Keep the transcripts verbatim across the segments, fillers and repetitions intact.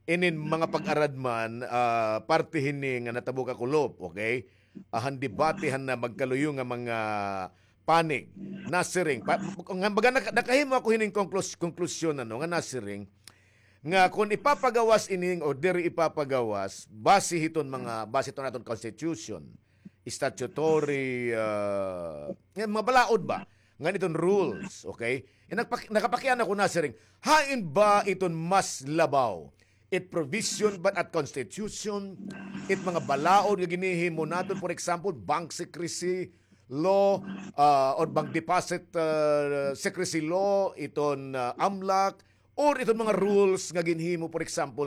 inin mga pag-aradman, ah, parte hini nga natabo ka kulop, okay? Ah, han debate han na magkaluyo nga mga panig. Nasiring, pa, nga baga naka-, nakahimo ako hining konklus-, konklusyon, ano, nga nasiring, nga kon ipapagawas ining o diri ipapagawas, base hiton mga, base hiton aton constitution, statutory, ah, nga mga balaod ba? Ngan iton rules, okay? E, nagpak-, nakapakiana ako, nasiring, hain ba iton mas labaw? It provision ba at constitution, it mga balaod nga ginhihimo naton, for example, bank secrecy law, ah, or bank deposit, ah, secrecy law, iton, ah, amlak, or iton mga rules nga ginhimo, for example,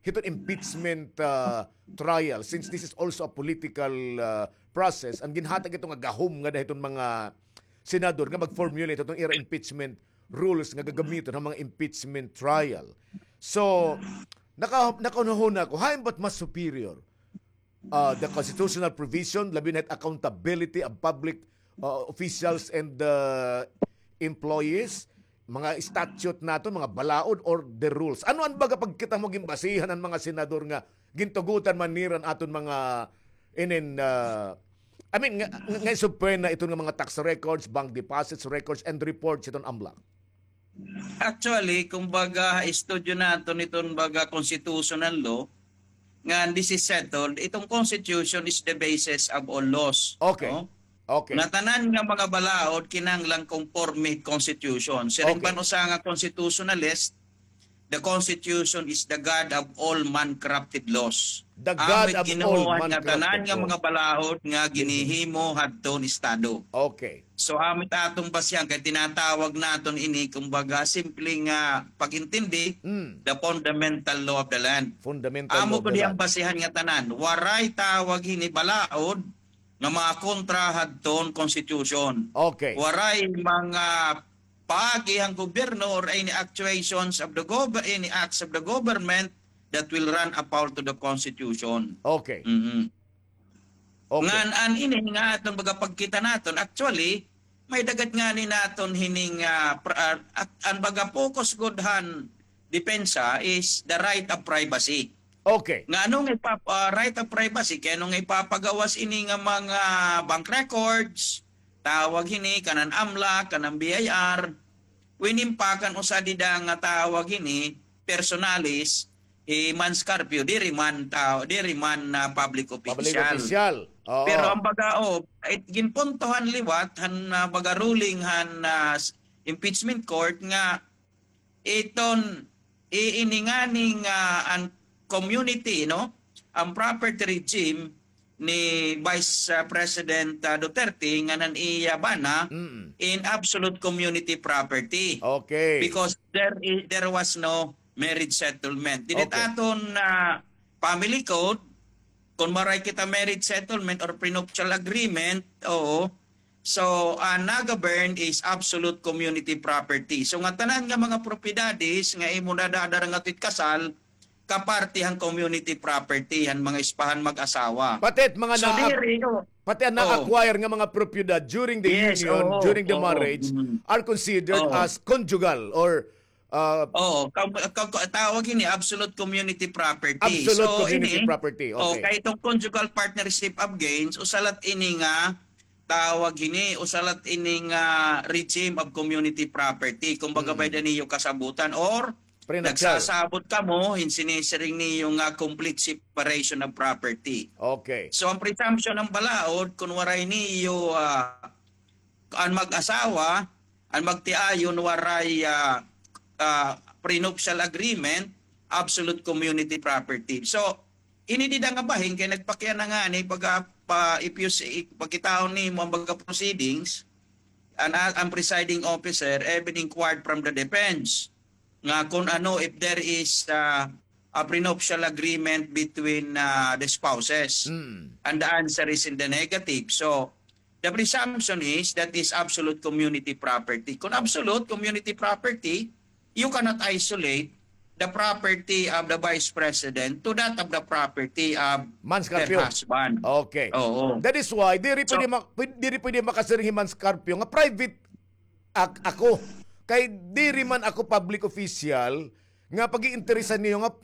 hiton impeachment, ah, trial, since this is also a political, ah, process, an ginhatag ito nga gahom ngada hiton mga senador nga mag-formulate hiton ira impeachment rules nga gagamiton han mga impeachment trial. So, naka-, nakahunahuna ako, hain ba't mas superior? Ah, the constitutional provision, labi na it accountability of public, ah, officials and, ah, employees, mga statute naton, mga balaod, or the rules? Ano an baga pagkita mo ginbasihan an mga senador nga gintugotan man nira an aton mga inin, ah, I mean, nga, nga, nga subpoena iton nga mga tax records, bank deposits records, and reports iton amlak? Actually, kumbaga, estudyo naton iton baga constitutional law, nga this is settled, iton constitution is the basis of all laws. Okay. No? Okay. Nga tanan nga mga balaod kinahanglan conforme constitution. Siring ban usa nga constitutionalist, the constitution is the god of all man-crafted laws. The god of all man-crafted laws. Amo it ginuhuan nga tanan nga mga balaod nga ginhihimo hadton estado. Okay. So, amo it aton basihan kay tinatawag naton ini, kumbaga, simple nga pag-intindi, the fundamental law of the land. Fundamental law of the land. Amo gud iya an basihan nga tanan. Waray tawag hini balaod nga mga kontra hadton constitution. Okay. Waray mga paagi han gobyerno or any actuations of the gov-, any acts of the government that will run afoul to the constitution. Okay. Mhm. Okay. Ngan an ini nga aton baga pagkita naton, actually, may dagat ngani naton hining, ah, pr-, ah, at-, an baga focus gud han depensa is the right of privacy. Okay. Nga ano nga ipa-, ah, right of privacy, kay ano nga ipapagawas ini nga mga bank records, tawag hini, kanan amlak, kanan B I R, winimpakan usa dida nga tawag hini, personalis, hi Mans Carpio, diri man tao, diri man, ah, public official. Public official. Oo. Pero an baga, oh, it, ginpuntohan liwat han, ah, baga ruling han, ah, s-, impeachment court nga iton, i-, ini ngani nga an community, no? An property regime ni Vice, ah, President, ah, Duterte ngan an iya bana in absolute community property. Okay. Because there i-, there was no marriage settlement. Diri it aton, ah, family code, kon waray kita marriage settlement or prenuptial agreement, oo. So, ah, naga-burn is absolute community property. So, nga tanan nga mga propiedades nga imo nadadara ngadto it kasal, kaparte han community property han mga espahan mag-asawa. Pati it mga na-, pati an na-acquire nga mga propiedad during the union, during the marriage, are considered as conjugal or, ah, oo, ka-, ka-, ka-, tawag ini absolute community property. Absolute community property, okay. So, ini, oh, kay itong conjugal partnership of gains, usa lat ini nga tawag hini, usa lat ini nga regime of community property. Kumbaga, bay-ada niyo kasabutan or nagsasabot kamo hin sinisiring niyo nga complete separation of property. Okay. So, an presumption han balaod, kon waray niyo, ah, an mag-asawa, an magtiayon waray, ah, ah, prenuptial agreement, absolute community property. So, ini dida nga bahin kay nagpakiana ngani pag, ah, pa, if you see, pagkitaon nimo an baga proceedings, an, an presiding officer even inquired from the defense nga kon ano, if there is, ah, a prenuptial agreement between, ah, the spouses. And the answer is in the negative. So, the presumption is that is absolute community property. Kon absolute community property, you cannot isolate the property of the vice president to that of the property of her husband. Mans Carpio. Okay. Oo. That is why, diri pwede ma-, pwede, diri pwede makasiring hi Mans Carpio nga private ak-, ako. Kay diri man ako public official nga pag-iinteresan niyo nga